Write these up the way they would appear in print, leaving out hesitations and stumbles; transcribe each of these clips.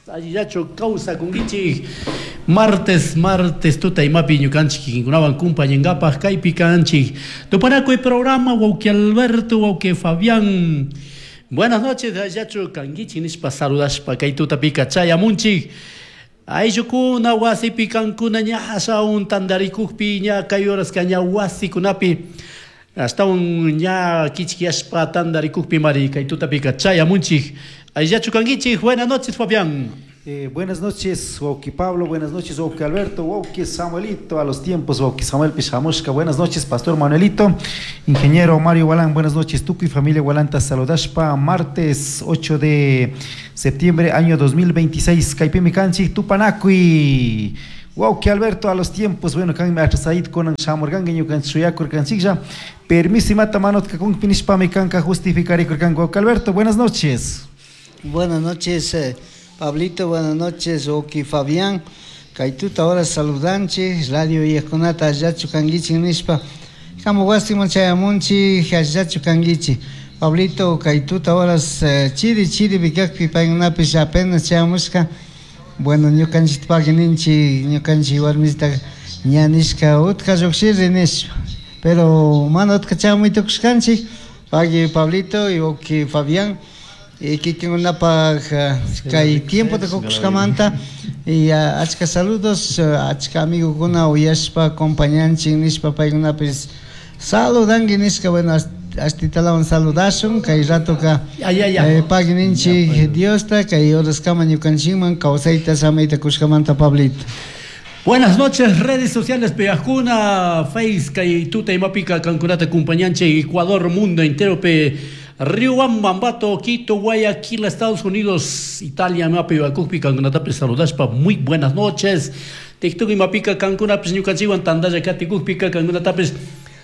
Allillachu kawsakunkichik? Martes, martes tuta imapi ñukanchik kikinkunawan kumpañankapaj kaypi kanchik. Tupanakuy programa wawqi Alberto, wawqi Fabián. Buenas noches, allillachu kankichik nishpa saludashpa kay tutapika chayamunchik. Ayllukuna wasipi kankuna ña ashawan tantarikukpi ña kay horaska ña wasikunapi Ashtahuan ña quichquiyashpa tandaricujpimari kay tutapika chayamunchik. Allillachu kanguichik? Buenas noches, Fabián. Buenas noches, wawqi Pablo, buenas noches, wawqi Alberto, wawqi Samuelito, a los tiempos, wawqi Samuelpish shamushka, buenas noches, Pastor Manuelito, Ingeniero Mario Gualán, buenas noches, tukuy familia Gualanta saludashpa, martes 8 de septiembre año 2026, kaypimi kanchik, tupanakuy. Wawqi Alberto, a los tiempos, bueno, kanmi atrasaid kunan shamurkanki ñukanchik shuyakurkanchiklla, permiso imata mana utka kunpi nishpami kanka justificarikurkanki. Wawqi Alberto, buenas noches. Buenas noches, Pablito, buenas noches, wawqi Fabián. Kay tuta hora saludanchik, radio uyajkunata allillachu kankichik nishpa, kamu wasiman chayamunchik, allillachu kankichik. Pablito, kay tuta horas chiri chiripi kakpi paykunapish apenas chayamushka. Bueno, ñukanchikta pagui ninchik, ñukanchik warmita ña nishka utka llukshirri nishpa, pero mana utka chamuy tukushkanchik, pagui Pablito y wawki Fabián, y kikinkunapak kay tiempota kukushkamanta y achka saludos, achka amigokuna uyashpa acompañanchik nishpa paykunapish Saludanki nishka, bueno, ashtitalawan saludashun, kay ratoka pagui ninchik Diosta, kay horaskama ñukanchikman kawsayta samayta kushkamanta Pablito. Buenas noches, redes sociales pegajkuna, Face kay tuta imapika kankunata acompañanchik Ecuador mundo enteropi, Riobamba, Ambato, Quito, Guayaquil, Estados Unidos, Italia imapi yurakukpi kankunatapish saludashpa muy buenas noches. TikTok imapika kankunapish ñukanchikwan tandalla katikukpika kankunatapish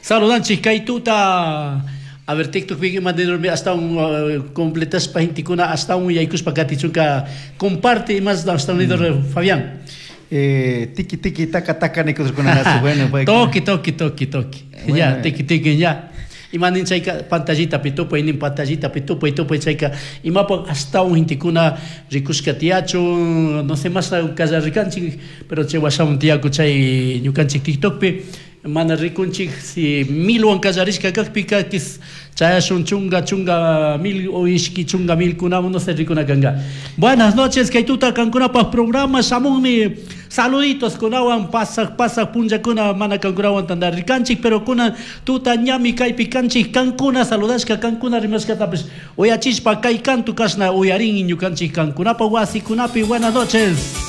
saludanchik kay tuta. A ver, TikTokpika ima nirmi ashtawan completashpa gentekuna ashtawan yaykushpa katichunka comparte imas ashtawan nidor Fabián. Tiki tiki taka taka nikushkunarasu bueno pues. Toki toki toki toki. Ya, tiki tiki ya. Ima nin chayka pantallitapi tupay nin pantallitapi tupay tupay chayka imapak ashtawan gentekuna rikushka tiyachun no sé mashna kallarikanchik pero chay washawan tiyaku chay ñukanchik TikTokpi mana rikunchik si milwan kallarishka kakpika chayashun chunga chunga mil o ishki chunga milkunawan no sé rikuna kanka. Buenas noches kay tuta kankunapak programa shamunmi saluditos kunawan pasaq pasaq punllakuna mana kankunawan tantarirkanchik pero kunan tuta ñami kaypi kanchik kankuna saludashka kankuna rimashkatapish uyachishpa kay kantu kashna uyarin ñukanchik kankunapa wasikunapi. Buenas noches.